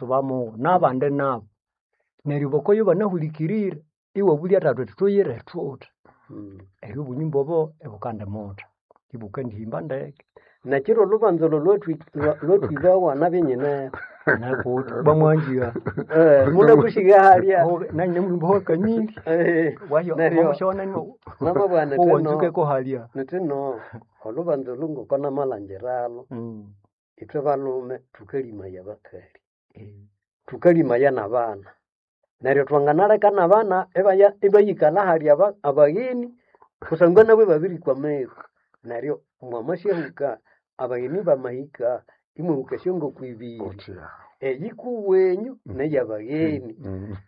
Suba mugo n'abandi nabo neryo bokoyo banahulikirire iwabulya tata uthi tuyire thuthi. Eryo obunyumba obo ibukandimutha, ibukandihimba ndeke. Nekiro olubanza olwo lwatwibawa nabyo nyineho. Nakuthi bamwanjigha. Munakushigha halya. Nanyine mulumba wakanyiri. Wahyo Neryo wamushona namabugha nithino owanzukeko halya. Nithino olubanza olu ngoko namalhangiralo, ithwe balhume thukalimaya abakali. Thukalimaya n'abana. Neryo twanganaleka n'abana ibaya ibayikalha hali abagheni kusangwa nabo ibabirikwa ameru. Neryo mwamasyahuka abagheni bamahika imwahuka esyongoko ibiri. Eyikuwenyu neyabagheni.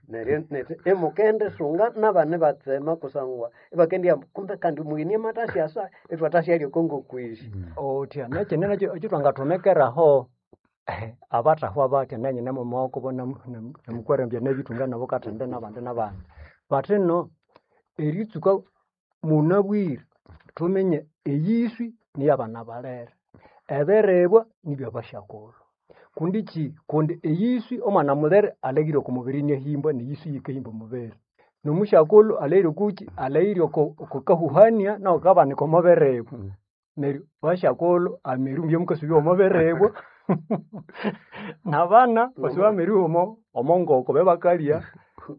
Neryo nethi imukendisunga n'abana ibatsema kusangwa ibakendighamba kumbe kandi omugheni amathasyasa ithwathasyalya oko ngoko esi. Othya nekyindi nakyo ekyithwangathomekeraho abathahwa batya nanyine mumaghokobo namukwarambya nabithunga nabo kathindi n'abandi n'abandi. Bathino eritsuka munabwire thuminye eyiswi niyabana balere, ebiribwa nibyabasyakulhu. Kundi kyi? Kundi eyiswi omwana mulere alhaghire oko mubiri iniahimbwa neyiswi yikahimba omubiri. Nomusyakulhu alhaghire okukyi? Alhaghire oko kahuhania nawu akabanika omo biribwa. Neryo basyakulhu ameru mubye mukasubya omo biribwa n'abana basube ameru omo ngoko babe bakalya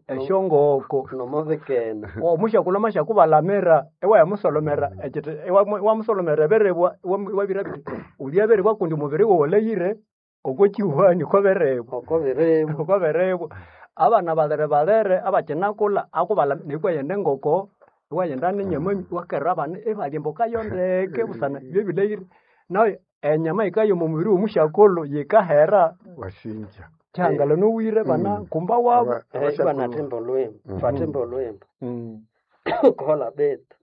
esyongoko. Nomobikene. Omusyakulhu amasyakubalamira iwayamusolomera ekyithi iwamusolomera ebiribwa iwabirabya bithi wulye ebiribwa kundi omubiri wawu walhaghire okwa kyihuhani okwa biribwa. Oko biribwa. Okwa biribwa. Abana balere balere abakyinakulha akubalamira iwaghenda engoko, iwaghenda n'enyama iwakerera abana ibalya emboka yo ndeke busana ibyo bilhaghire. Nayo enyama yikaya omo mubiri w'omusyakulhu yikahera. Wasinja. Kyihangala nowire banakumba wabo. Ibanathimba olhwimbo, bathimba olhwimbo. Kola betu.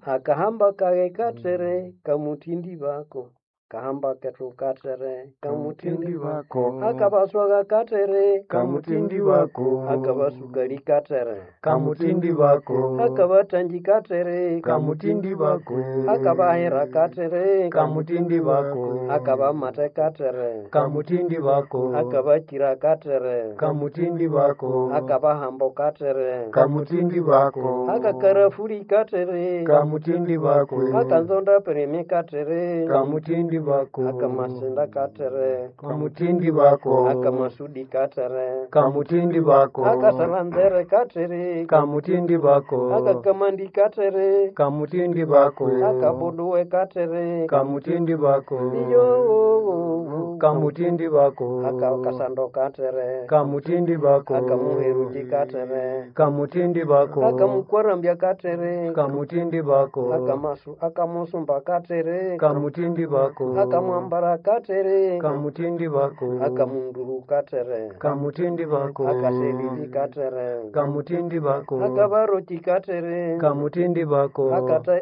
Akahamba kaghe kathere kamuthindi bako. Kahamba kethu kathere kamuthindi bako. Akabaswaga kathere Kamuthindi bako. Akabasukali kathere Kamuthindi bako. Akabathangi kathere Kamuthindi bako. Akabahera kathere Kamuthindi bako. Akabamathe kathere Kamuthindi bako. Akabakira kathere Kamuthindi bako. Akabahambo kathere Kamuthindi bako. Akakarafuli kathere Kamuthindi bako. Akanzonda pirimi kathere Kamuthindi bako. Akamasinda kathere Kamuthindi bako. Akamasudi kathere Kamuthindi bako. Akasalanzere kathere Kamuthindi bako. Akakamandi kathere Kamuthindi bako. Akabuduwe kathere Kamuthindi bako. Iyo Kamuthindi bako. Akakasando kathere Kamuthindi bako. Akamuheruki kathere Kamuthindi bako. Akamukwarambya kathere Kamuthindi bako. Akamasu akamusumba kathere Kamuthindi bako. Akamwambara kathere Kamuthindi bako. Akamunduru kathere Kamuthindi bako. Akaselili kathere Kamuthindi bako. Akabaroki kathere Kamuthindi bako.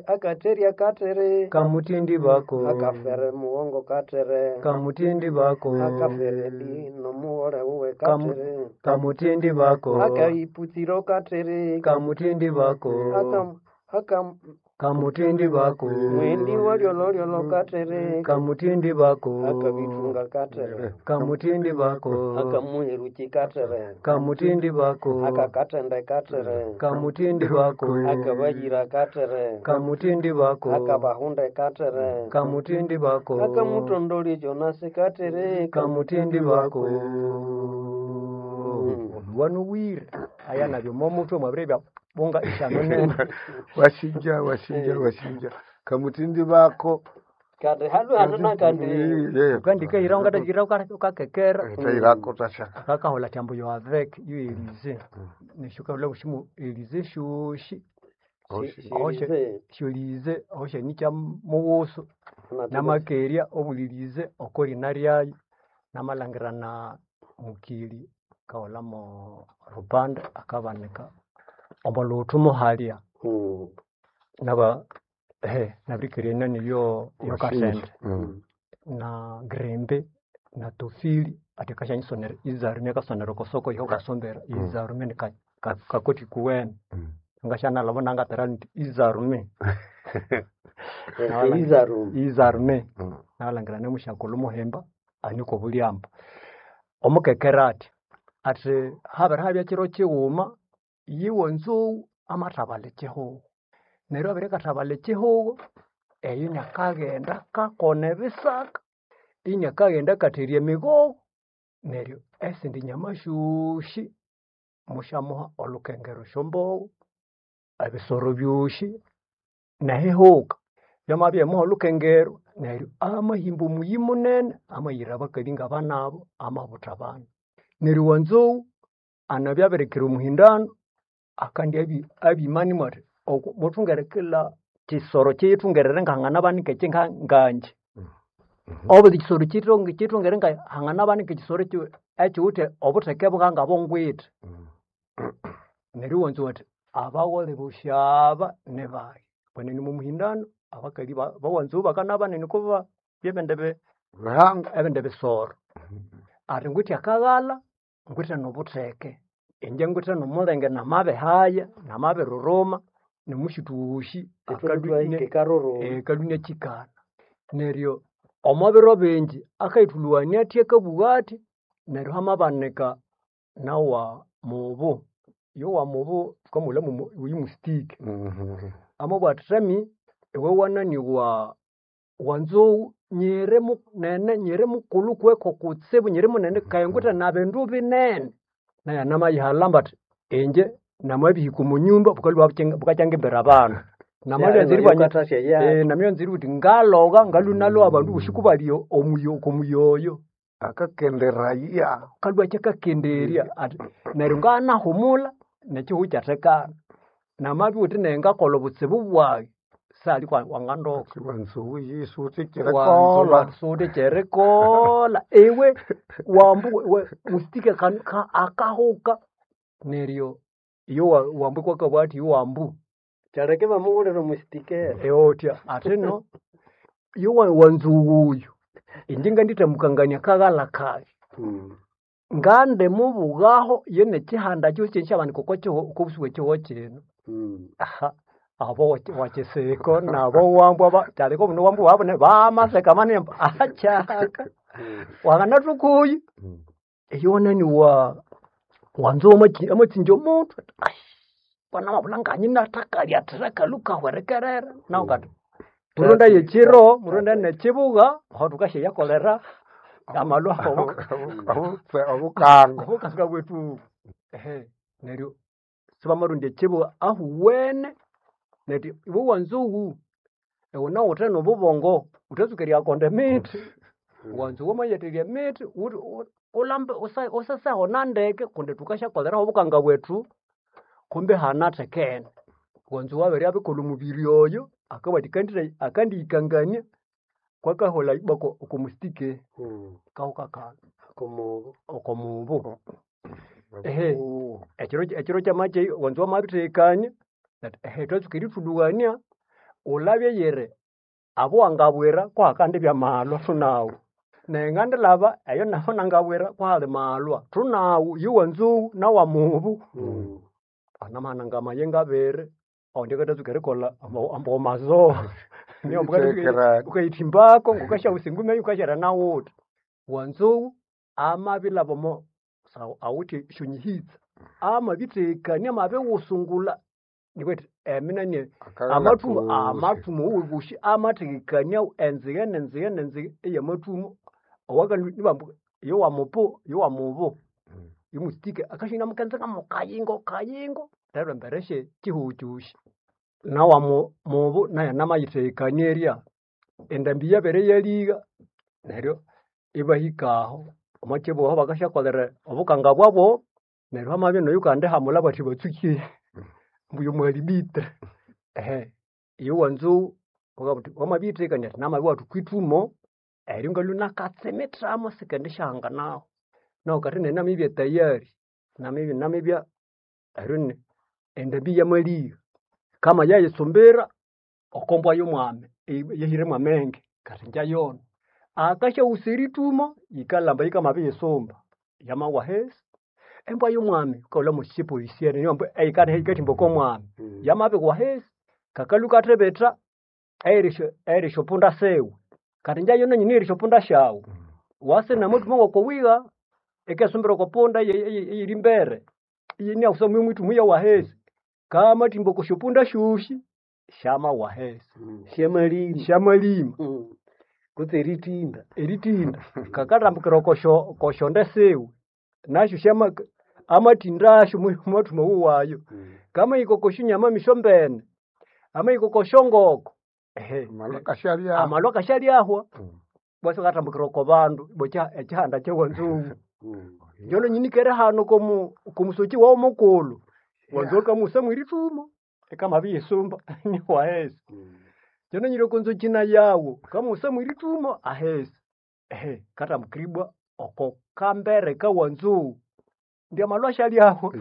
Akaterya kathere Kamuthindi bako. Akafere mughongo kathere Kamuthindi bako. Akaferedi nomughole wuwe kathere Kamuthindi bako. Akaiputsiro kathere Kamuthindi bako. Aka Kamuthindi bako. Mwendi walyololyolo kathere Kamuthindi bako. Akabithunga kathere Kamuthindi bako. Akamuheruki kathere Kamuthindi bako. Akakathende kathere Kamuthindi bako. Akabayira kathere Kamuthindi bako. Akabahunde kathere Kamuthindi bako. Akamutondoli Jonasi kathere Kamuthindi bako. Wanuwire aya nabyo omo muthwe mwabiribya bunga ithano nene. Wasinja wasinja wasinja. Kamuthindi bako. Kandi hanu hanu nakandi Ukandikahiraho ngatahiraho ukakekera. Tahirako tasha. Kakahola kyambo yo avec yo Elize. Neshuka bushimu Elize shoshi. Sholize aho nikya mughusu namakerya obulilize okolina lyayo namalhangira na mukili kaholamo rupande akabanika omo lhuthu muhalya naba nabirikerya enani yo kasente na grembe na tofili ati akasyanyisonerera izarume akasonera oko soko iho kasombera izarume ni kakoti kuwene ngasyanalhaba nangathera indi izarume. Izarume. Izarume namalhangira nemusyakulhu muhimba aniko obulyambo. Omukekera athi ati habere habya kiro kighuma yiwe nzou amathabalha ekihugho. Neryo abere akathabalha ekihugho eyo inakaghenda akakona ebisaka, inakaghenda akatherya emigogho neryo esindi nyama syoosi musyamuha olhukengero esyombogho, ebisoro byosi nehihuka byamabya erimuha olhukengero neryo amahimba omuyi munene amayira abakalhi ngabanabu amabutha abana. Neryo wanzou anabya abirikira omuhindano akandya abima nimwo athi muthungere kila kisoro kiyithungerere ngahanganabanika eki ngangye. Obuli kisoro kiyithungere ngahanganabanika ekisoro ekiwithe obutheke bwangabongwithe. Neryo iwanzou athi abaghole bosi aba nibayi. Kwenene omo muhindano abakalhi bawanzou bakana banene okwa ebindi Bihanga. ebindi bisoro. Athi ngwithe akaghalha, ngwithe nobutheke, ingye ngwithe nomulenge namabihaya, namabiriruma, nomusithu wosi Ithwe twahika ekaruruma. akalhwa inakyikana. Neryo omo biro bingi akayithulhughania athi akabugha athi neryo hamabanika nawa mubu. Yowa mubu thukamughulhamu oyu mustiki. Amabugha athi thami iwe wanani wa wanzou nyiri munene nyiri mukulhu kuweko kutsibu nyiri munene keghe ngwithe na bindu binene. Naye anamayihalhamba athi inje namabihika omo nyumba bukalhwa bukakyangimbira abana. Nayo Namabyanza eribugha indi ngalogha ngalhwa inalogha abandu bosi kubali omuyoyo. Akakenderaya. Kalhwa akyakakenderya athi neryo nganahumulha nekihugho ikyathekana. Namabya iwuthi nayi ngakolha obutsibu bwayi sali wangandoka. Wanzou yisuthi kyerikolha. Suthi kyerikolha iwe wambu mustiki akahuka neryo iyo wambu kwakabugha athi iwambu Kyaleka ibamughulira omustikere. eotya athino iyo wanzou oyu inje ngandithamukangania akaghalha kayi ngandimubughaho yenekihanda kyosi kyenisyabanika okwa busi bwekihugho kino. Aha abo wakyisiko nabo wambwa kyaleka obundi wambwa wabu bamaseka manene ambu akyaka wanganathoka oyu eyo wanani wa wanzou amatsinja omuthwe athi kwanamabulha nganyinathakalya athira akalhu kahwerekerera nawu kati murondaye ekiro murondaye nekibugha aho thukasyayakolera amalhwa Obukanga. obukanga bwethu. Ehe neryo sibamarondya ekibugha ahuwene neryo iwe wanzou iwe nawuthe nobubongo wuthatsuka eriyakonda emithi. Wanzou wamayatheria emithi ulhambe usaseho nandeke kundi thukasyakoleraho obukanga bwethu kumbi ihanathekene. Wanzou abere abikolha omubiri oyo akabugha athi akandiyikangania kwakaholha ibwa oko mustike kahuka kalhu Okomubu. oko mubu. Ehe ekiro kyamakya wanzou amabithekania athi ehe thwatsuka erithulhughania wulabye yiri abo wangabwira kuhakandibya malhwa thunawu. Neryo ngandilhaba eyo naho nangabwira kuhali malhwa thunawu yowanzou nawa mubu. Anamahana amayengo abiri awundi akathatsuka erikolha ambu mazoa wukayithimbako ngukasyaghunza engumi eyo wukasyalya nawuthi. Wanzou amabilhaba omo awithe esyonyihitsa amabithekania amabighusungulha nikwethi eminani amathumo amathumo wuwe amathekania enzighe nenzighe nenzighe eyamathumo owakalhwa ibambu yowamupu yowamubu yomusitike akasya inamukenza mukayingo kayingo neryo embere sye kihugho kyosi. Nawa mubu naye anamayithekania erya endambi yabere yaligha neryo ibahika aho omo kibugho aho bakasyakolera obukanga bwabo neryo hamabya noyukandi hamulha bathi batsuke ambu yomuhalibitre. Ehe iyo wanzou wukabugha wuthi wamabiyithekania athi namabya iwathuka okwithumo eryo ngalhwa inakatsimithamo sikendisyahanganaho. Nawu kathi nayi namibya tayari namibya eryo endambi yamaligha kama yayitsumbira oko mbwa yomwami eyahiremu amenge kathi ingyayona. Akasyaghunza erithumo yikalhamba yikamabiyisumba yamawa ahisi. Embwa yomwami wukaghulha mwekyipolisiene niyo ambu eyikathimba oko mwami yamabigwa ahisi kakalhwa kathibitha eyiri esyopunda siwe kathi ingyayona nyina eyiri esyopunda syawu wase namathumo ngoko wiha. Ikesumbira oko punda eyiri mbere iyiniakusa mwithumu yawahesi kamathimba oko syopunda syosi syamawahesi. Syamalima. Syamalima. Kutse eritinda. Eritinda kakathambukira okosyo kosyonde siwe nasyo syama amathindasyo mwathuma wayo. Kamahika oko syonyama misyombene, amahika oko syongoko ehe Amalwa akasyalyahwa. amalwa akasyalyahwa. Bwasi akathambukira oko bandu bwekya ekihanda kyawanzou. Njono nyinikere hano komu komusoki wawu mukulhu wanzou akamusa mwirithumo ikamabiyisumba niwahesi. Njono nyiri oko nzoki nayawu kamusa mwirithumo ahesi. Ehe kathambukiribwa oko kambere kawanzou ndi amalwa asyalyahwa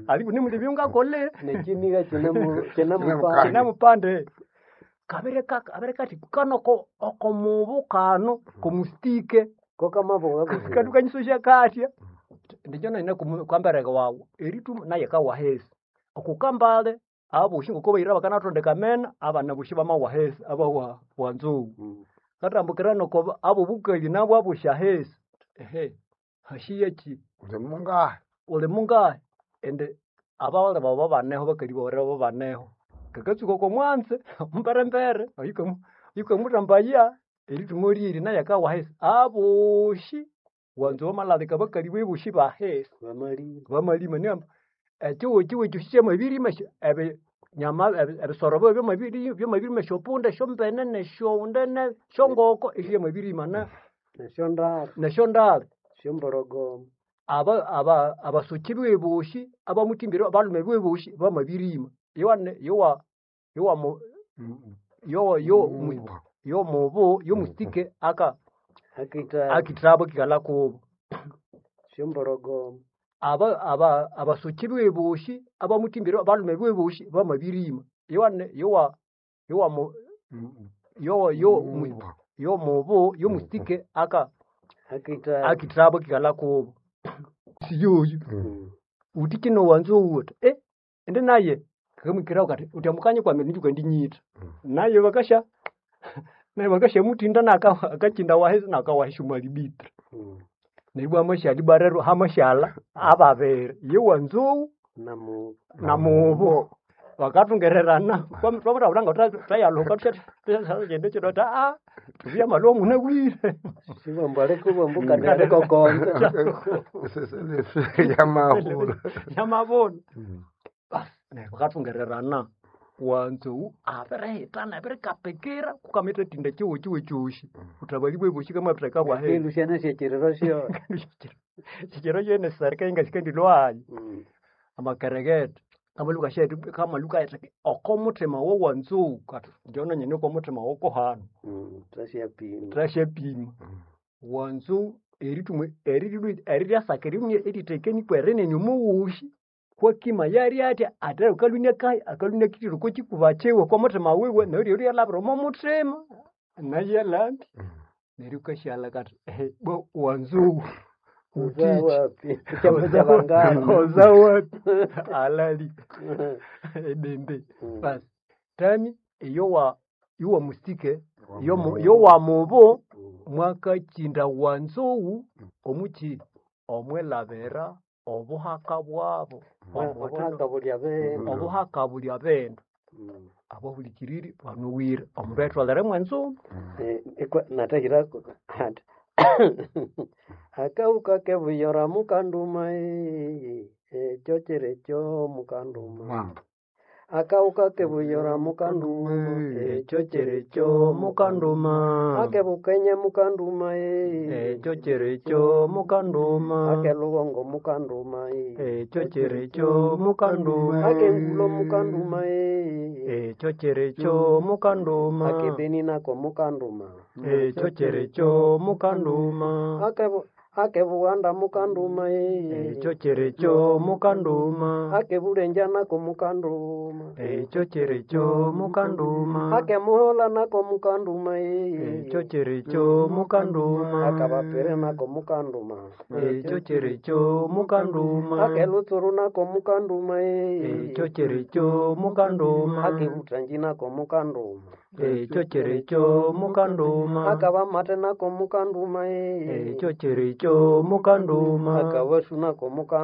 aliku nimulibya ngakole Nekiniga Kinemupande. kinamupande kabere kathi kano oko okomubu kano komustike Kokamabunga katukanyisosya kathya ndikyo nene kwambereka wawu erithumo naye kawahesi okukambale abosi ngoko bayira bakanathondeka amena abana bosi bamawahesi abawa wanzou kathambukira noko abobukali nabo abosi ahesi ehe hashiyeki Uli mungahi? uli mungahi indi abawali bawu baneho bakali bawu baneho kakatsuka oko mwanze mberembere oyukamuthambaya erithumo lyeri naye akawahesi abosi wanzou wamalalika abakali bebosi bahesi Bamalima. bamalima nighamba ekihugho kyosi kyamabirima ebinyama ebisoro byo byamabirima esyopunda esyombene nesyonde nesyongoko esyo syamabirima Nesyondara. nesyondali Syomborogoma. abasoki bebosi abamuthimbire abalhume bebosi bamabirima yowane yowa yowa yo yo yomubu yomusitike aka Akita akithabo kikalha kubo syomborogoma. abasoki bebosi abamuthimbire abalhume bebosi bamabirima yowane yowa yowa yo yo yomubu yomusitike aka Akita akithabo kikalha kubo siyoyo uthi kino wanzou uthi eh indi naye kakamwikiraho kathi uthi amukanye kwami ninju kandinyitha naye bakasha naye bakashamuthinda naka akakinda wahesi nakawahesi omwalibitra neryo ibwa amasyalha ibwa rero hamashyalha ababiri ye wanzou Namu namubu bakathungererana twamuthabulha nga thwayalhuka thusyakyende kino athi aa thubuya amalwa munabwire sibambu aliko bambu kandi aliko konza. Seselefe yamahula. yamabona basi neryo bakathungererana wanzou abirihitana abirikapikira kukamithatinda kihugho kiwe kyosi uthabali bwebosi kamabitheka bwahesi Kindu syana syekiriro syo. kikiro kyene serika ingasikandilwayo amakereketha kamaluka shethu kamaluka yethu oko muthima wowanzou kathi njono nyine oko muthima wokohano Twasyapima. twasyapima wanzou erithuma eriryasaka eritekeni kwerinene omuwusi kwakima yali athya ate akalhunia kahi akalhunia kithira oko kikuba kiwe oko muthima wiwe neryo eryalhabira omo muthima nayalhambi neryo wukasyalha kathi ehe bwa wanzou Uza utiki wapi? Kyama kyabangani. oza wapi alali ebembe basi tami eyowa yowa mustike yowa mubu mwakakinda wanzou omuki omwelabira obuhaka bwabo Obuhaka bulya bene. obuhaka bulya bindu abahulikiriri banuwire omundu ayitholere mwenzuma Natahirako ati akauka kebuyora mukanduma ekyo kiri kyo mukanduma akauka kebuyora mukanduma ekyo kiri kyo mukanduma akebukenya mukanduma ekyo kiri kyo mukanduma akelugongo mukanduma ekyo kiri kyo mukanduma akengulo mukanduma ekyo kiri kyo mukanduma akebeni nako mukanduma ekyo kiri kyo mukanduma akebughanda mukanduma ekyo kiri kyo mukanduma akebulenja nako mukanduma ekyo kiri kyo mukanduma akemuhola nako mukanduma ekyo kiri kyo mukanduma akabapere nako mukanduma ekyo kiri kyo mukanduma akelutsuru nako mukanduma ekyo kiri kyo mukanduma akebuthanji nako mukanduma. Ekyo kyerikyo mukanduma. Akaba mate nako mukanduma ee. Ekyo kyerikyo mukanduma. Akaba su nako mukanduma.